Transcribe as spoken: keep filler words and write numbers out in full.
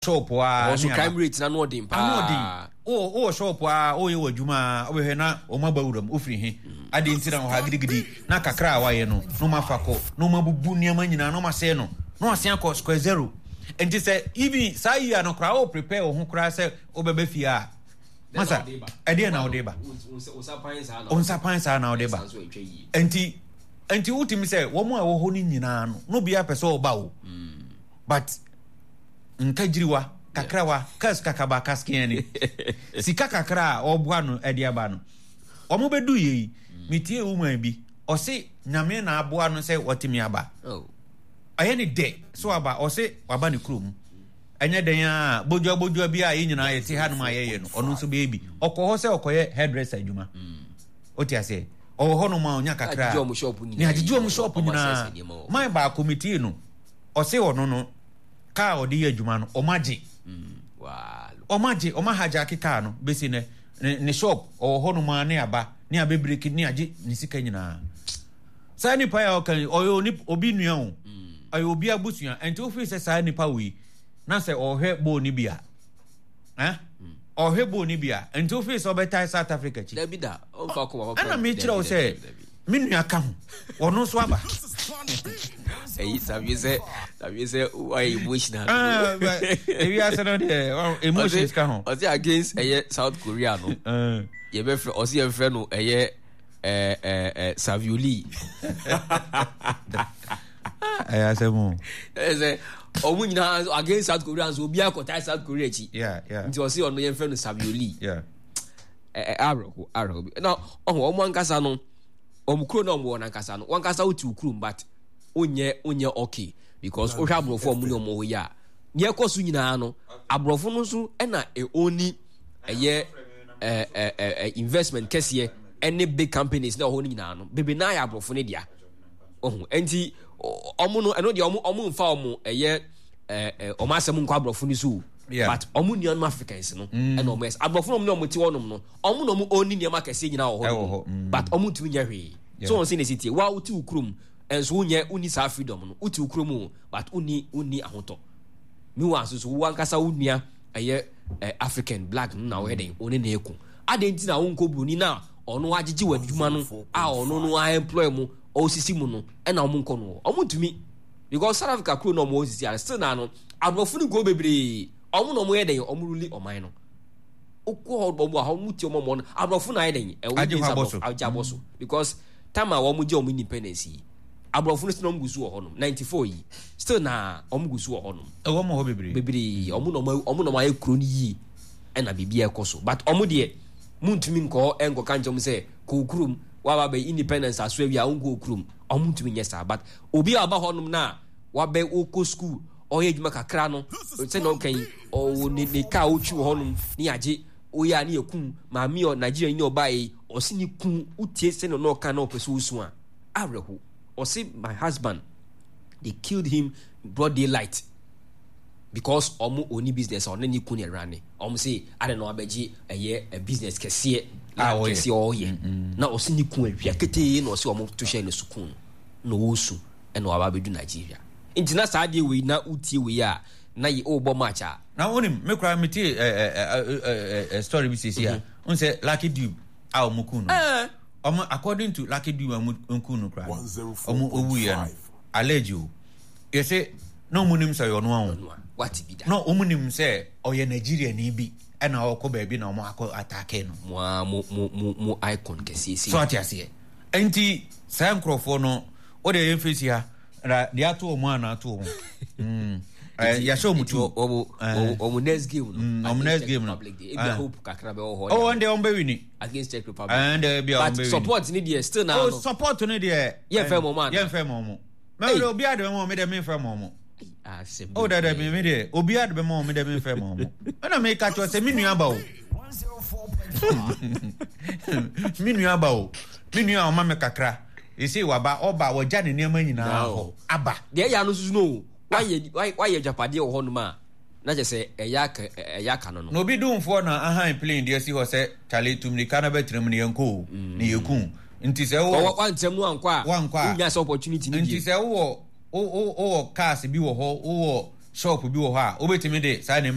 Shop a Ɔwɔ so ne crime aba. rate na no ɔden Ano ɔden. paa. Wowɔ wowɔ shop a woyɛ wɔ adwuma a, wobɛhwɛ na wɔn aba wuram. Wofiri he? Adeɛ nti na wɔ ha gidigidi na kakra a wayɛ no na wɔn afa kɔ na wɔn abubu nneɛma nyinaa na wɔn asɛe no na wɔasen akɔ square zero. Nti sɛ even saa year no koraa wo prepare wo ho koraa sɛ wobɛba fie a, masa ɛdeɛ na wode ba? Wo nsa pan saa na Wo nsa pan saa na wode ba. Ɛsan so atwa yie. Nti nti wotumi sɛ wɔn a ɛwɔ hɔ no nyinaa no na obiara pɛ sɛ ɔba o. But nkagyiriwa kakrawa kas kakaba kaskeɛ sika kakra a ɔboa no ɛde aba no, wɔn bɛdu yɛ yi, metie woman bi, ɔse Nyame na aboa no sɛ wɔtumi aba. Oh. Ɔyɛ ne dɛ so aba. Ɔse waba ne kurom, ɛnyɛ dɛn a bodua bodua bi a yɛn nyinaa yɛte hanom a yɛyɛ no, ɔno nso bɛyɛ bi. Ɔkɔ hɔ sɛ ɔkɔyɛ hairdresser adwuma. Wote aseɛ, ɔwɔ hɔnom a ɔnya kakra. Agyegye ɔmo shop nyinaa ne agyegye ɔmo yi, shop ɔmo nyinaa. asɛesɛe nneɛma wɔ hɔ. Man baako metie no, ɔse ɔno no kaa a ɔde yɛ adwuma no, ɔmo agye. Waa. Ɔmo agye, ɔmo ahijack kaa no. Bɛsi nɛ ne ne shop ɔwɔ hɔnom a ne aba ne abɛbreak ne agye ne sika nyinaa. Saa nipa yi a ɔka yi, ɔyɛ oni obi nua o, ɔyɛ obi abusua. Nti wofiri sɛ saa nipa wei na sɛ ɔhwɛ bɔɔl no bi a, eh? Ɔhwɛ bɔɔl no bi a, nti wofiri sɛ ɔbɛtae South Africa akyi? Dabi da, ɔmfa kɔma papa. Ɛna mekyerɛ wo sɛ me nua ka ho, ɔno nso aba. Ɛyi sabi sɛ sabi sɛ wayɛ emotional. Ah, but ewiase no deɛ, ɔ- emotions ka ho. Ɔse against ɛyɛ South Korea no, Eh. yɛbɛfrɛ, ɔse yɛmfrɛ no ɛyɛ ɛɛ ɛɛ ɛɛ Savioli. Ɛyɛ asɛm o. Ɛyɛ sɛ ɔmo nyinaa nso against South Korea nso obiara kɔtae South Korea akyi. Yeah, yeah. Nti ɔse ɔno yɛmfrɛ no Savioli. Yeah. Ɛ ɛ awerɛho awerɛho bi na ɔho ɔmo ankasa no, ɔmo kuro na ɔmo wɔ n'ankasa no, wɔn ankasa wote wo kurom but wonyɛ wonyɛ okay because wohwɛ aborɔfo a ɔmo ne ɔmo hɔ yi a, nea ɛkɔ so nyinaa no, aborɔfo no nso ɛna ɛoni ɛyɛ ɛ ɛ ɛ investment kɛseɛ ɛne big companies na ɛwɔ hɔ no nyinaa no, bebree naa yɛ aborɔfo no dea. Ɔho ɛnti ɔmo no, ɛno deɛ ɔmo ɔmo nfa ɔmo ɛyɛ ɛ ɛ ɔmo asɛm nkɔ aborɔfo no so o. Yeah. But ɔmo nuanom Africans no ɛna ɔmo yɛ aborɔfo no, ɔmo ne ɔmo te hɔnom no, ɔmo na ɔmo ɔni nneɛma kɛseɛ nyinaa wɔ hɔ Ɛwɔ nom. hɔ, mm. But ɔmo ntumi nyɛ hwee. So Yeah. wɔn sɛ na esi tie wa, wote wo kurom ɛnso wonyɛ, wonni saa freedom no. Wote wo kurom o, but wonni wonni ahotɔ. Meanwhile nso so wo ankasa wo nua ɛyɛ ɛ African black no na wɔyɛ den wɔne na eko adan nti na wonkɔ buroni na ɔno agyegye wɔ adwuma no a ɔno no a employ mu ɔsisi mu no, ɛna ɔmo nkɔ no, ɔmo ntumi because South Africa kuro na ɔmo wɔ sisi a, still na no aborɔfo no nkuro bebree ɔmo na ɔmo yɛ den, ɔmo rule ɔman no. Wokɔ hɔ ɔmo a ɔmo tie ɔmo ɔmo no, aborɔfo na ayɛ den ɛwɔ Agye hɔ abɔ so. Agye abɔ so because time a wɔn gye wɔn independence yi, aborɔfo no still na ɔmo gu so wɔ hɔnom. Ninety four yi, still na ɔmo gu so wɔ hɔnom. Ɛwɔ mo hɔ bebree. Bebree. Ɔmo na ɔmo ɔmo na ɔmo ayɛ kuro no yie ɛna biribi ɛkɔ so, but ɔmo deɛ muntumi nkɔ ɛnkɔka nkyɛn mo sɛ kɔ kurom waba bɛ independence aso awia nkɔ kurom. Ɔmo ntumi nyɛ saa, but obi a ɔba hɔnom na wabɛ wokɔ school, ɔyɛ adwuma kakra no, sɛnea ɔka yi, ɔwɔ ne ne kaa ɔtwi wɔ hɔnom ne yagye oyɛ a ne yɛ kum maame ɔ Nigeria ni ɔbaa yi, ɔsi ne kun wotie sɛnea ɔno ɔka na ɔpɛ sɛ osu a awerɛho. Ɔsi, "My husband, they killed him broad daylight because ɔmo oni business a ɔne ne kun ɛra ne ɔmo se ade na wabɛgye ɛyɛ ɛ business kɛseɛ A land ɔyɛ. Kɛseɛ ɔyɛ na ɔsi ne kun awia ketee na ɔsi ɔmo to hyɛ ne so kun no na ɔresu ɛna waba abɛdu Nigeria. Nti na saa adeɛ wei na wotie wei a na yɛ ɔrebɔ match a. Na wonim, me koraa metie ɛ, ɛ, ɛ, ɛ, ɛ, story bi sisi a n sɛ Lucky Dube a ɔmo kun no, ɛɛ ɔmo according to Lucky Dube a ɔmo kun no koraa no, ɔmo owuiɛ no, allege o, yɛsɛ na ɔmo nim sɛ ɔyɛ ɔno a o. Ɔno a wate bi da? Na ɔmo nim sɛ ɔyɛ Nigeria ni bi ɛna ɔkɔ baabi na ɔmo akɔ attack no. Mo a mo mo mo mo icon kɛseɛ sei. So ate aseɛ? Nti saa nkurɔfoɔ no wode yɛn fesi ha na deɛ ato wɔn a na ato wɔn. Mm. Eh, yɛahyɛ wɔn nti tu. ɔmo Eh. ɔmo next game no Mm, ɔmo against next Czech game no. Republic deɛ, ebia Eh. hope kakra bɛwɔ hɔ. Oh, wɔn deɛ wɔn bɛ win. Against Czech Republic. Eh, deɛ ebia wɔn But bɛ win. support ni deɛ, still na Oh, no support no deɛ. Yɛmfɛ ma ɔmo ana? Yɛmfɛ ma ɔmo. Hey. Mɛ obi ade bɛ ma ɔmo deɛ, memfɛ ma ɔmo. Asɛm. Oh, dada mi mi deɛ obi ade bɛ ma ɔmo deɛ, memfɛ ma ɔmo. Ɛna mi ka kyerɛ sɛ mi nua ba o. Mi nua ba o. Mi nua a ɔma mi kakra. Ese waba, ɔba wɔgya ne nneɛma nyinaa hɔ aba. Deɛ ɛyɛ ano soso no, wayɛ wayɛ agyapadeɛ wɔ hɔnom a na kyerɛ sɛ ɛyɛ aka ɛyɛ aka no no. Na obi dumfoɔ na ahan plane de asi hɔ sɛ kyale tumirika na bɛtena mu ne yɛnkɔ o ne yɛku nti sɛ wowɔ wankyɛm no ankɔ a wankɔ a wonya sɛ opportunity no nti bie. Sɛ wowɔ wo- wo- wowɔ cars bi wɔ hɔ, wowɔ Shop bi wɔ hɔ a wobɛtumi de saa nneɛma.